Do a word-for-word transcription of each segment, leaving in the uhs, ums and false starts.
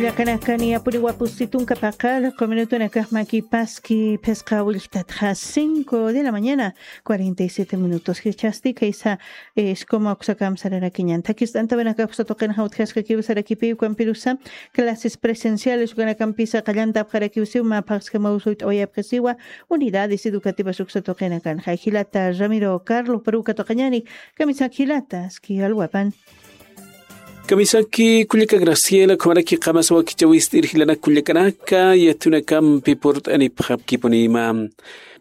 Llakanakan yapuriwa pusi tunka paqar, q'uminutunakax makipaski phisqa willktatxa cinco de la mañana, cuarenta y siete minutos. Jichhasti kaysa, eh, iskuma uksa kamsararakiñan. Thakist'antawinakax uksa tuqinxa utjaskakiw sarakipiw kampirusa, clases presenciales ukanakampisa qallantapxarakiw siw, mä phaxskamaw suyt'awayapxisiwa, unidades educativas uksa tuqinakanxa. Jilata Ramiro Carlos, paruka tuqañani, kamisaki jilata, aski alwapan. Kamisaki kullaka Graciela, ukhamaraki qamasa wakichäwist'ir jilanak kullakanaka, yatiyunakampi purt'anipxapkipunïma.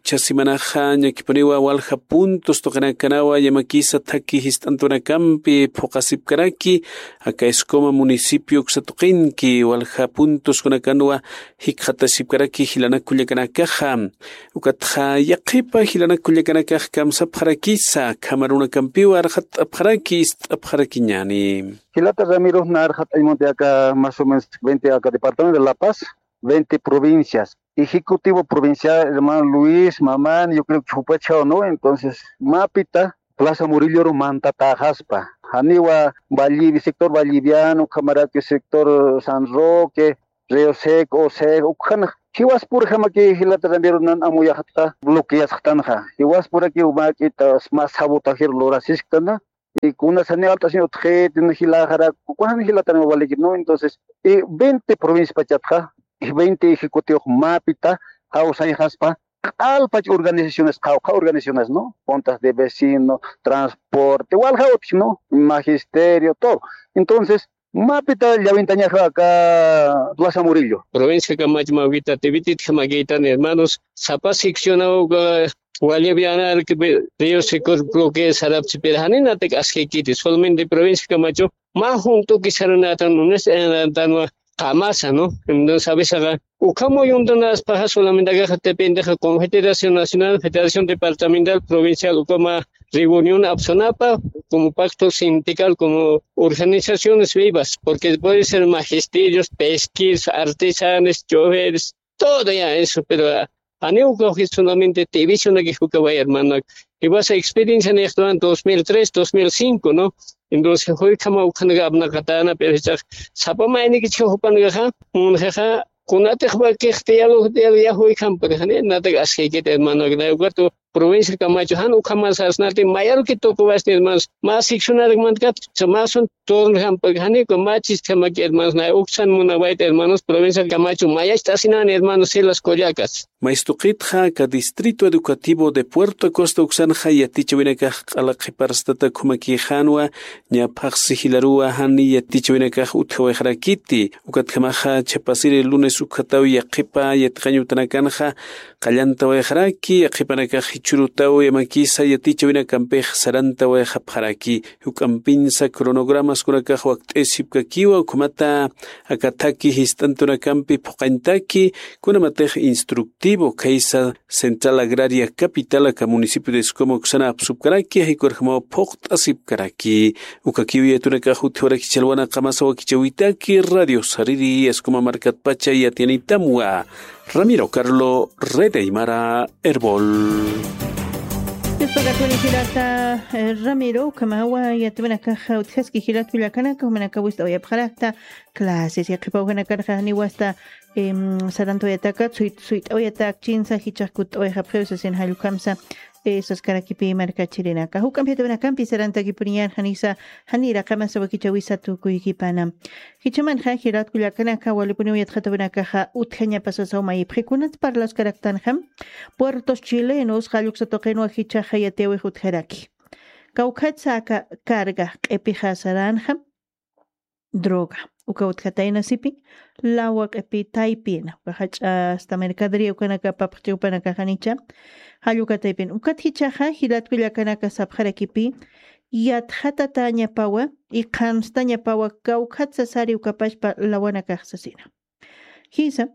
Chha semanaxa ñakipuniwa walja puntos tuqinakanawa yamakisa thaki jist'antunakampi phuqasipkaraki, aka iskuma municipio uksa tuqinki walja puntoskunakanwa jikxatasipkaraki jilanak kullakanakaxa. Ukatxa yaqhipa jilanak kullakanakax kamsapxarakisa, khamarunakampiwa arxat'apxaraki, ist'apxarakiñani. Jilata Ramiro, na arxat'añ munti aka más o menos veinte, aka departamento de La Paz, veinte provincias. Ejecutivo provincial, hermano Luis, Mamani, yo creo que jupachhaw, ¿no? Entonces, mapita Plaza Murilloru mantatäxaspa. Janiwa Vallivi-, sector Valliviano, ukhamaraki sector San Roque, Río Seco, Osejo, ukhana. Jiwaspurjamaki jilata Ramiro nan amuyaxatxa bloqueasxtanxa. Jiwaspuraki umak'ita mä sabotajeru lurasisktan. Y kuna sani alt'asiñ utjiti, jilaxarak, ukan jilatani waliki, ¿no? Entonces, y veinte provincias pachatxa, y veinte ejecutivo mapita, jawsayxaspa, q'alpach organizaciones, qawqha organizaciones, ¿no? Juntas de vecino, transporte, walja utji, ¿no? Magisterio, todo. Entonces, mapita llawintañaxa aka Plaza Murillo. Provincia Camacho mawkita, Tibititja makïtan, hermanos, sapa seccionaw, eh, Guayabiana, Río Seco, bloque sarapchi, pero janinatak askikiti, solamente provincia Camacho, mä juntuki sarunatan, unas, eh, tanwa, qamasa, ¿no? Entonces, a veces, ukhama yuntanaspaxa solamente akaxa dependexa Confederación Nacional, Federación Departamental, Provincial, ukhama reunión apsunapa, como pacto sindical, como organizaciones vivas, porque puede ser magisterios, pesqueros, artesanos, choferes, todo ya eso, pero, ah, janiw ukax solamente divisionakix ukaway, hermano. Y vas a experiencia en esto en dos mil tres, dos mil cinco, ¿no? Entonces, juykama ukhanaka apnaqatana, pero ya sapa maynikichka jupanakaxa, munjaxa, kunatix wakix diálogo, diálogo, ya juykam, pero jani, natak askikit, hermano, ukatu, provincia Camacho, jan ukhaman sasnati, mayarki tukuwasni, hermanos, más seccionarak mankat, más un tornejam, porque jani, con más chistamaki, hermanos, na uksan munawayta, hermanos, provincia Camacho, mayacht'asinan, hermanos, Silas Collacas. Maystuqitxa aka Distrito Educativo de Puerto Acosta uksanxa yatichawinakax q'ala qhiparstata ukhamakïxänwa, ña phaxsi jilaruwa jani yatichawinakax utjawayxarakiti, ukatjamaxa chhapasiri lunes ukhataw yaqhipa yatiqañ utanakanxa qallantawayxaraki, yaqhipanakax jichhürutaw yamakisa yatichawinakampix sarantawayxapxaraki, juk'ampinsa cronogramaskunakax wakt'isipkakiwa, ukhamata aka thaki jist'antunakampi phuqañtaki, kunamatix instructivo, khaysa Central Agraria Capital aka municipio de Escoma uksana apsupkaraki, jaykurjamaw phuqt'asipkaraki. Ukakiw yatunakax utjawaraki chhalwana qamasa wakichäwitaki, Radio Sariri, Escoma markatpacha yatiyanitamwa. Ramiro Carlo, Red Aymara, Erbol. Yuspagatuni jilata, eh, Ramiro, ukhamawa yatiwanakax utjaski jilat kullakanaka, jumanakaw wist'awayapxarakta, clases, yaqhipa ujanakanaxa janiw asta, em, sarantawayatakat, suy-, suyt'awayatak chinsa, jichhax kutt'awayxapxiw sasin jall ukhamsa, eh, saskarakipï markachirinaka. Juk'amp yatiwanakampi sarantakipuniñän janisa, janïra qamasa wakichäwisa tukuykipana. Jichhamanxa jilat kullakanaka, walipuniw yatxatawinakaxa utjañapa sasaw mayipxi, kunat parlaskaraktanxa, puertos chilenos, jall uksa tuqinwa jichhaxa yatiyäwix utjaraki. Kawkhatsa aka carga q'ipixa saranxa, droga. Uka utjatayna sipi, lawa q'ipi taypina, uka jach'a asta mercadería ukanaka apapxchi jupanakaxa janicha, jall uka taypina. Ukat jichhaxa, jilat kullakanaka sapxarakipï, yatxatatäñapawa, y qhanstañapawa, kawkhatsa sari ukapachpa lawanakax sasina. Jisa,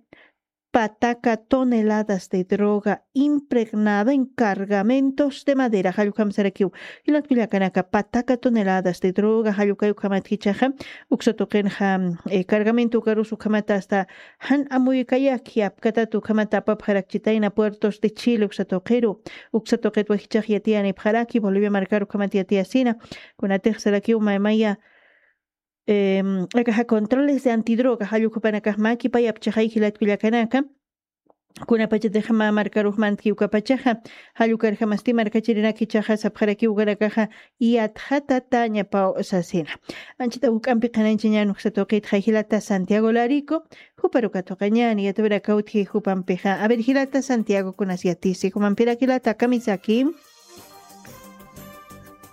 pataka toneladas de droga impregnada en cargamentos de madera. Jall ukham sarakiw. Jilat kullakanaka, pataka toneladas de droga, jall ukay ukhamat jichhaxa, uksa tuqinxa, eh, cargamento ukarus ukhamata asta jan amuykayaki apkatata ukhamata apapxarakchitayna puertos de Chile uksa tuqiru, uksa tuqitwa jichhax yatiyanipxaraki, Bolivia markar ukhamat yatiyasina, kunatix sarakiw maymaya, em, akaxa controles de antidroga, jallukhupanakax makipayapchaxay jilatkullakanaka, kunapachatixama markarux mantki ukapachaxa, jallukarjamasti markachirinakichaxa sapxaraki ukanakaxa, yatxatatañapaw sasina. Anchita juk'ampi qhananchañan uksatuqitxa jilata Santiago Larico, juparuka tuqañani yatawiraka utji jupampixa. A ver, jilata Santiago, kunas yatisi jumampira jilata kamisaki.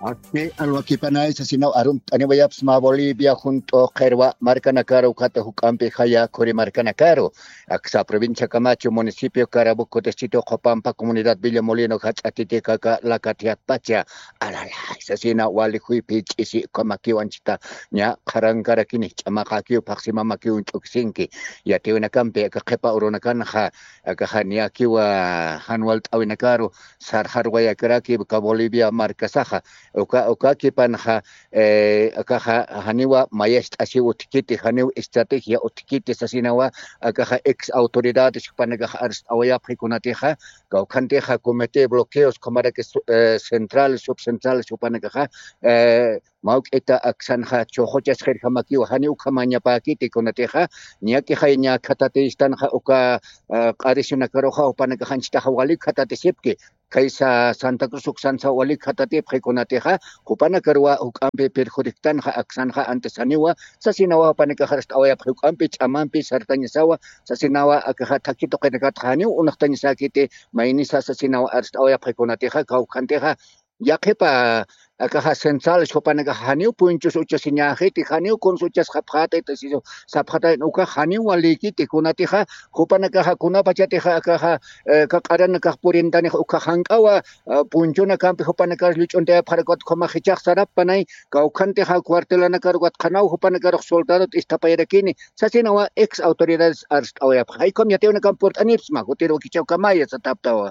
Ati alwakipanay sasinaw arumt'aniwayapsma Bolivia junt'u qirwa markanakaru ukhata juk'ampi jaya khuri markanakaru, aksa provincia Camacho, municipio Carabuco, distrito Copampa, comunidad Villa Molino, jach'a Titicaca, Lacatiatpacha, alalay sasina wali juypi ch'isi ukhamakiw anchita ña qharankarakini ch'amaqakiw phaxsimamakiw ch'ukisinki. Yatiwinakampi aka qhipa urunakanxa akaxa niyakiwa jan walt'awinakaru sarxarwayakaraki uka Bolivia markasaxa. Uka, ukakipanxa, eh, akaxa janiwa mayacht'asiw utjkiti, janiw estrategia utjkiti sasinawa, akaxa ex autoridades jupanakaxa arst'awayapxi kunatixa, kawkhantixa comité bloqueos ukhamaraki su-, eh, centrales, subcentrales jupanakaxa, eh, mawk'ita aksanxa chuxuchasxirjamakiwa, janiw ukhamañapäkiti kunatixa, ñakixay ña khatatistanxa uka, eh, q'arisunakaruxa jupanakaxa anchitaxa wali khatatisipki, khaysa Santa Cruz uksansa wali khatatipxi kunatixa, jupanakaruwa juk'ampi perjudictanxa aksanxa antes janiwa, sasinawa jupanakaxa arst'awayapxi juk'ampi ch'amampi sartañasawa, sasinawa akaxa thakhi tuqinakatxa janiw unxtañasäkiti, maynisa sasinawa arst'awayapxi kunatixa, kawkhantixa, yaqhipa akaxa centrales jupanakaxa janiw punchus uchasiñäxiti, janiw kuns uchasxapxätiti, sisiw sapxatayna ukax janiw walïkiti kunatixa, jupanakaxa kunapachatixa akaxa, eh, kaq'aranakax purintanixa ukax jank'awa, ah, punchunakampi jupanakax lluch'untayapxarakut ukhamax jichhax sarappanay, kawkhantixa cuartelanakarukat qhanaw jupanakarux soldadot isthapayarakini, sasinawa ex autoridades arst'awayapxa. Jaykham yatiwinakamp purt'anipsma, jutir wakichawkamaya sataptawa.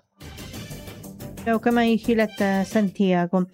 Kawkamay jilata Santiago.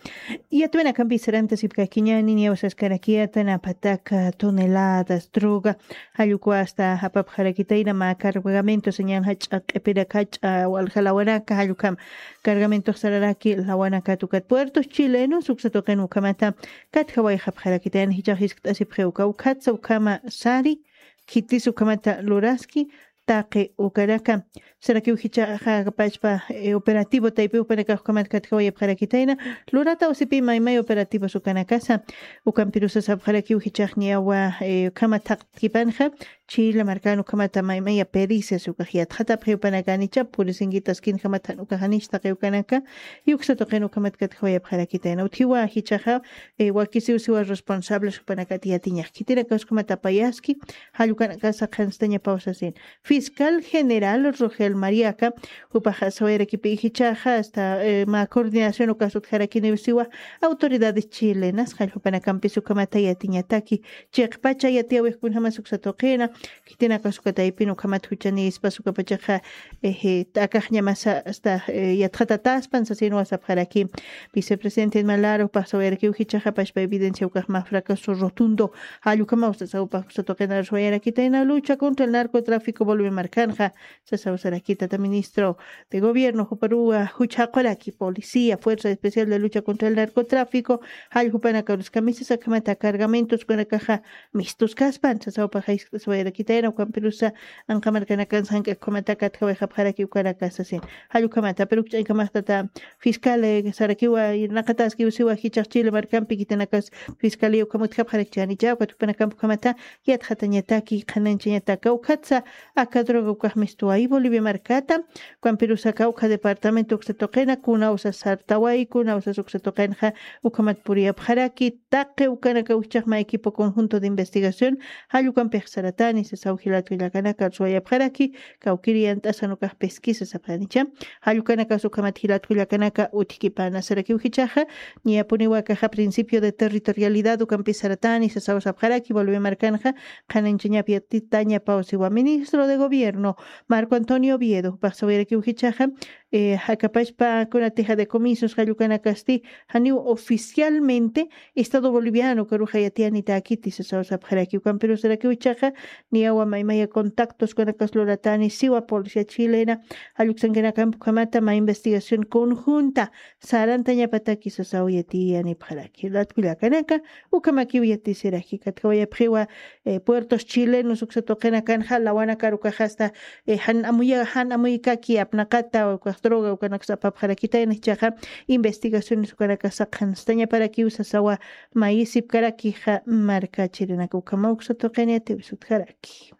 Yatwinakampi sarantasipkakiñani, niyaw saskarakiyata napataka toneladas droga, jallukwa hasta japapxarakitayna mä cargamento señal jach'a q'ipirak jach'a walja lawanaka, jallukam cargamento sararaki lawanaka tukat puertos chilenos, uksa tuqin ukhamata katjawayxapxarakitayna, jichhax jiskt'asipxi uka, ukhatsa ukhama sari, khitis ukhamata luraski, taqi ukanaka. Sarakiw jichhaxa pachpa, eh, operativo taypi jupanakax ukhamat katjawayapxarakitayna, lurata usipi maymay operativos ukanakasa, ukampirusa sapxarakiw jichhax niyawa, eh, ukhama thaqtkipanxa, Chile markan ukhamata maymaya pericias ukax yatxatapxi jupanakanicha, purisinkitaskinjamat jan ukaxanich taqi ukanaka, y uksa tuqin ukhamat katjawayapxarakitayna. Utjiwa jichhaxa, eh, wakisiw siwa responsables jupanakat yatiñax. Khitinakas ukhamat apayaski, jallukanakasa qhanstañapaw sasin. Fiscal General Rogel Mariaca, jupaxa sawayarakipi jichhaxa, hasta, eh, mä coordinación ukas utjarakiniw siwa autoridades chilenas, jall jupanakampis ukhamata yatiñataki, chiqpacha yatiyawix kunjamas uksa tuqina, khitinakas uka taypin ukhamat juchanispas ukapachaxa, eh, eh, t'akaxñamasa hasta, eh, yatxatataspan sasinwa sapxaraki. Vicepresidente Malaro, jupax sawayarakiw jichhaxa pachpa evidencia ukax mä fracaso rotundo, jall ukhamaw sasaw upax uksa tuqina sawayarakitäna lucha contra el narcotráfico Bolivia markanxa, sasaw sarakitata ministro de gobierno, juparuwa juchhaquraki policía, fuerza especial de lucha contra el narcotráfico, jall jupanakarus kamisas akhamata cargamentos ukanakaxa mistus kaspan, sasaw upax jaysk'aswayarakitayna, ukampirusa anqa markanakan sank'ak ukhamata katjawayxapxaraki ukanaka sasin. Jall ukhamata, pero ukch'ankamaxtata fiscal, eh, sarakiwa, naqataskiw siwa jichhax Chile markampi khitinakas fiscalía ukham utjapxarakchänicha, ukat jupanakamp ukhamata yatxatañataki, qhananchañataka, ukhatsa aka droga ukax mistuway Bolivia markata, ukampirusaka ukha departamento uksa tuqina, kunawsa sartaway, kunawsas uksa tuqinxa ukhamat puriyapxaraki, taqi ukanaka ukchaq mä equipo conjunto de investigación, jall ukampix saratani, sasaw jilat kullakanaka, suwayapxaraki, kawkiri yant'asan ukax pesquisa sapxanicha, jall ukanakas ukhamat jilat kullakanaka utjkipana, sarakiw jichhaxa, niyapuniwa akaxa principio de territorialidad ukampis saratani, sasaw sapxaraki, Bolivia markanxa, qhananchañap yatitañapaw siwa ministro de gobierno, Marco Antonio Oviedo, jupax sawayarakiw jichhaxa, eh, akapachpa kunatixa decomisios jall ukanakasti, janiw oficialmente Estado Boliviano ukaruxa yatiyanitaki sasaw sapxaraki, ukampirusarakiw jichhaxa, niyawa maymaya contactos kunakasa luratani siwa policía chilena, jalluksankinakampukhamata ma investigación conjunta sarantañapataki sasaw yatiyanipxaraki. Latkullakanaka, ukhamakiw yatisiraki. Katkawayapxiwa, eh, puertos chilenos uksa tuqinakanxa lawanakar ukaxasta, eh, jan amuya, jan amuykaki apnaqata, ukax droga, ukanaksa apapxarakitayna jichhaxa investigaciones ukanakasa qhanstañaparakiw sasawa mayisipkarakixa markachirinaka. Ukhama uksa tuqini yatiwis utjaraki.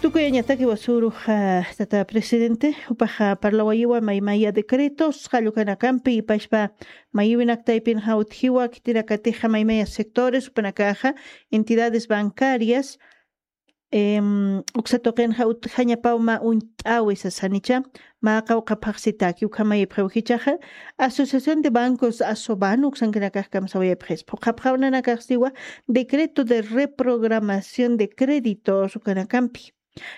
Tukuyañataki wasürux, ah, tata presidente, jupaxa parlawayiwa maymaya decretos, jallukanakampi, pachpa mayiwinak taypinxa utjiwa, khitinakatixa maymaya sectores, jupanakaxa, entidades bancarias, em, uksa tuqinxa utjañapaw mä uñt'äwi sasanicha, mä qawqha phaxsitaki, ukhamayipxiw jichhaxa, Asociación de Bancos, ASOBAN, uksankinakax kamsawayapxis. Phuqhapxaw nanakax siwa, decreto de reprogramación de créditos, ukanakampi.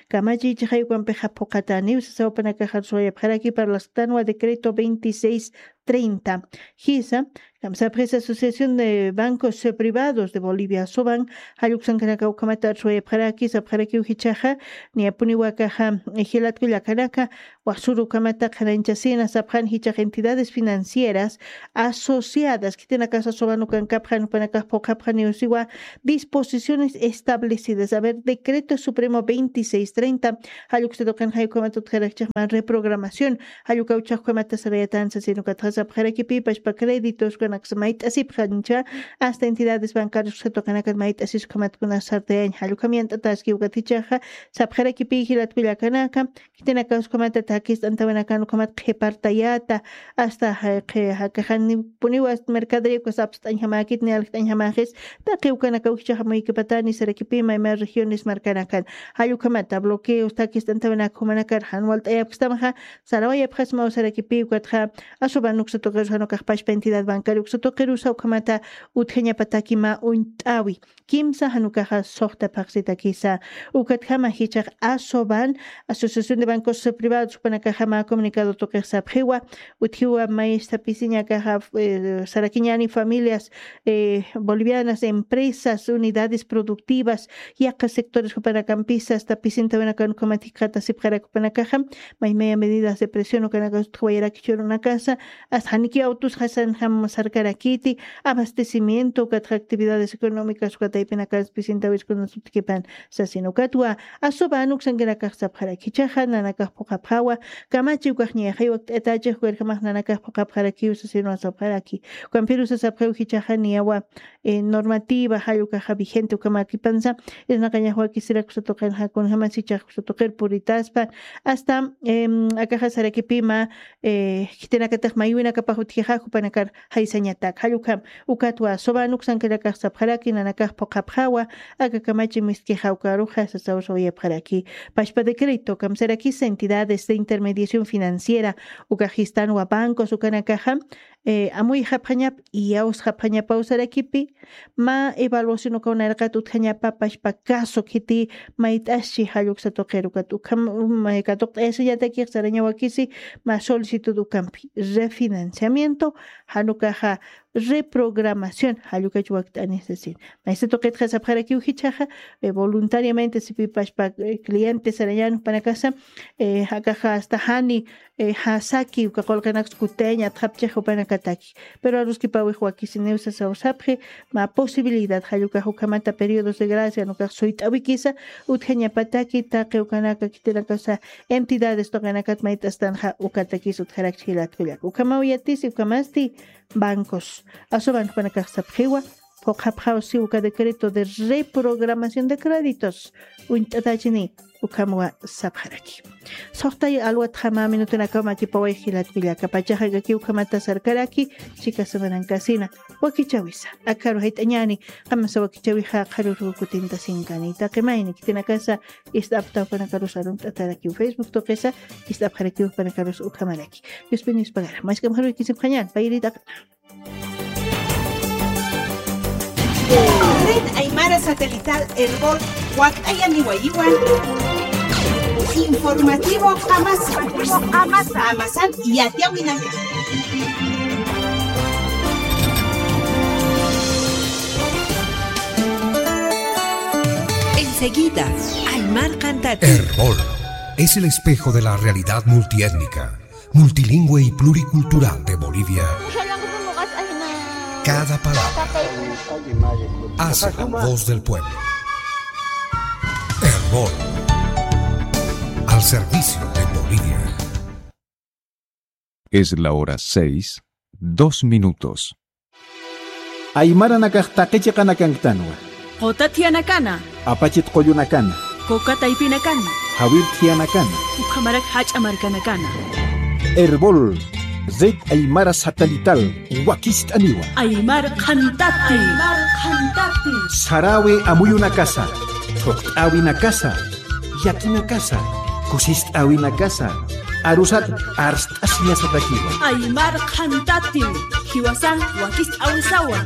Kamachiy jichhaxa ukampixa phuqhataniw, sasaw jupanakax arsuwayapxaraki, parlasktanwa decreto veintiséis treinta. Jisa, kamsapxis Asociación de Bancos, eh, Privados de Bolivia, ASOBAN, jalluksankanaka ukhamata arsuwayapxaraki, sapxarakiw jichhaxa, niyapuniwa akaxa, eh, jilatkullakanaka, wasürux ukhamata qhananchasina, sapxan jichhax entidades financieras asociadas, khitinakasa ASOBAN ukankapxan, jupanakax phuqhapxaniw siwa, disposiciones establecidas. A ver, Decreto Supremo veintiséis treinta, jalluksa tuqinxa ukhamata utjarakchixman reprogramación, jallukawchhax ukhamata sarayatan sasin ukatxa sapxarakipï, pachpa créditos ukanaksa mayt'asipxancha, hasta entidades bancarias uksa tuqinakat mayt'asis ukhamat kuna sartayañ, jallukam yant'ataski ukat jichhaxa, sapxarakipï jilatkullakanaka, khitinakax ukhamata takist'antawinakan ukhamat qhipartayata, hasta, eh, qhi-, jakaxanipuniwa mercadería ukas apst'añjamäkit, ni aljt'añjamäxis, taqi ukanakaw jichhax amuykipatani sarakipï mayma regiones markanakan. Jallukhamata bloqueos, takist'antawinak jumanakar jan walt'ayapxstamxa, sarawayapxasmaw sarakipï ukatxa, ASOBAN uksa tuqirus jan ukax pachpa entidad bancaria uksa tuqirusa ukhamata utjañapataki mä uñt'äwi. Kimsa jan ukaxa suxta phaxsitakisa. Ukatjama jichhax ASOBAN, Asociación de Bancos Privados, jupanakaxa mä comunicado tuqix sapxiwa, utjiwa mayista pisiñakaxa, eh, sarakiñäni familias, eh, bolivianas, empresas, unidades productivas, yaqha sectores jupanakampisa, hasta pisintawinakan ukhamat jikxatasipxarak jupanakaxa, maymaya medidas de presión ukanakax utjawayarakichirunakasa, hasta janiki autos jasanjam sarkarakiti, abastecimiento, ukatxa actividades económicas, uka taypinakas pisintawis kunas utjkipan sasin. Ukatwa, ASOBAN uksankinakax sapxaraki jichhaxa, nanakax phuqhapxawa, kamachi ukax ñayaxay wakt'atachix, ukirjamax nanakax phuqhapxarakiw sasinwa sapxaraki. Ukampirusa sapxiw jichhaxa niyawa, eh, normativa, jall ukaxa vigente, ukamakipansa, irnaqañax wakisirak uksa tuqinxa, kunjamas jichhax uksa tuqir puritaspa, hasta, em, akaxa sarakipï mä, eh, khitinakatix maywinakapax utjixa, jupanakar jaysañatak. Jall ukham, ukatwa, ASOBAN uksankinakax sapxaraki, nanakax phuqhapxawa, aka kamachi mistkixa ukaruxa, sasaw sawayapxaraki. Pachpa decreto, kamsarakisa entidades de intermediación financiera, ukax jistanwa bancos, ukanakaxa, eh, amuyxapxañap, iyawsxapxañapaw sarakipï, mä evaluación ukaw nayraqat utjañapa pachpa caso khiti mayt'aschi jall uksa tuqir ukat ukham, um, eh, katuqt'ayasiñatakix sarañawakisi mä solicitud ukampi. Refinanciamiento, jan ukaxa reprogramación, jall ukach wakt'ani sasin. Maysa tuqitxa sapxarakiw jichhaxa, eh, voluntariamente sipï pachpa, eh, cliente sarañän jupanakasa, eh, akaxa hasta jani, eh, jasaki uka qullqinaksa kutayañ atxapchix jupanakataki. Pero aruskipawix wakisiniw sasaw sapxi, mä posibilidad, jall ukax ukhamata periodos de gracia, jan ukax suyt'awikisa, utjañapataki taqi ukanaka khitinakasa entidades tuqinakat mayt'astanxa ukatakis utjarakchi jilatkullaka. Ukhamaw yatisi, ukhamasti bancos. ASOBAN jupanakax sapxiwa, phuqhapxaw siw uka decreto de reprogramación de créditos. Uñt'atachini, ukhamwa sapxaraki. Suxtay alwatxa mä minutunakaw makipaway jilatkullaka. Pachaxa kaki ukhamata sarkaraki, chika semanankasina. Wakichäwisa. Akaru jayt'añäni, qamasa wakichäwixa qharürux kutintasinkani. Taqi mayni, khitinakasa ist'apxta jupanakarus arunt'atarakiw Facebook tuqisa, ist'apxarakiw jupanakarus ukhamaraki. Diospi nispagara. Mask'am jaruyki sipxañän, payri t'aqana. Red Aymara Satelital Erbol, wakt'ayaniwayiwan. Informativo Qamasa. Qamasan yatiyawinak. Seguida, Aymar Qantati. Erbol es el espejo de la realidad multiétnica, multilingüe y pluricultural de Bolivia. Cada palabra hace la voz del pueblo. Erbol, al servicio de Bolivia. Es la hora seis, dos minutos. Aymaranakax taqi chiqanakanktanwa. Quta thiyanakana. Apachit qullunakana. Coca taypinakana. Jawir thiyanakana. Ukhamarak jach'a markanakana. Erbol, Red Aymara Satelital, wakist'aniwa. Aymar Qhantati. Aymar Qhantati. Sarawi amuyunakasa, thuqt'awinakasa, yakinakasa, kusist'awinakasa, arusat arst'asiñasatakiwa. Aymar Qhantati, jiwasan wakist'awisawa.